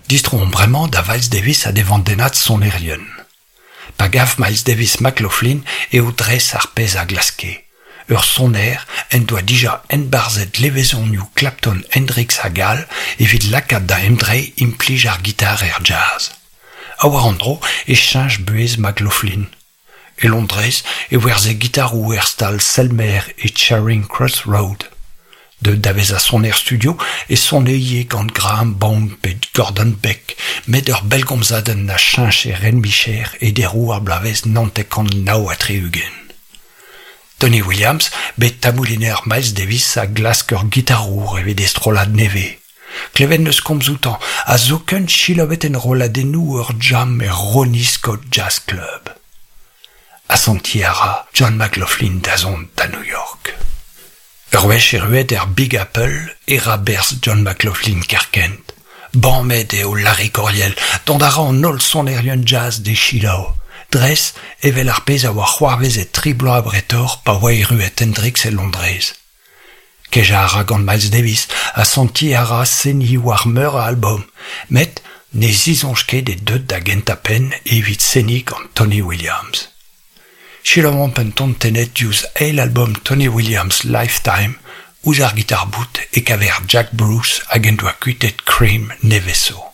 Distroomp bremañ da Viles Davis ha d'e vandennad sonerien. Pa gav Miles Davis McLaughlin eo dres ar pezh a glaske. Ur soner en doa dija enbarzhet levezonioù Clapton, Hendrix hag all evit lakaat da emdreiñ implij ar gitar er jazz. Ha war an dro e cheñch buhez McLaughlin. E Londrez e werzhe gitaroù er stal Selmer e Charing Cross Road. Deuet da vezañ soner studio e sone ivez gant Graham Bond pe Gordon Beck, met ur bellgomzadenn a cheñch e ren-micher e deroù ar bloavezh 1969. Tony Williams, bet tabouliner Miles Davis a glask ur gitarour evit e strollad nevez. Klevet 'neus komz outañ ha zoken selaouet enrolladennoù ur jam er Ronnie Scott Jazz Club. Asantiñ a ra John McLaughlin da zont da New York. Ur wech erruet er Big Apple e ra berzh John McLaughlin kerkent. Bamet eo Larry Coryell, dont a ra an holl sonerien jazz d'e selaou, dres evel ar pezh a oa c'hoarvezet tri bloaz abretoc'h pa oa erruet Hendrix e Londrez. Kejañ a ra gant Miles Davis ha sentiñ a ra seniñ war meur a albom, met ne zisoñj ket eo deuet da gentañ-penn evit seniñ gant Tony Williams. Selaouomp un ton tennet diouzh eil albom Tony Williams Lifetime, ouzh ar gitar-bout e kaver Jack Bruce hag en doa kuitaet Cream nevez zo.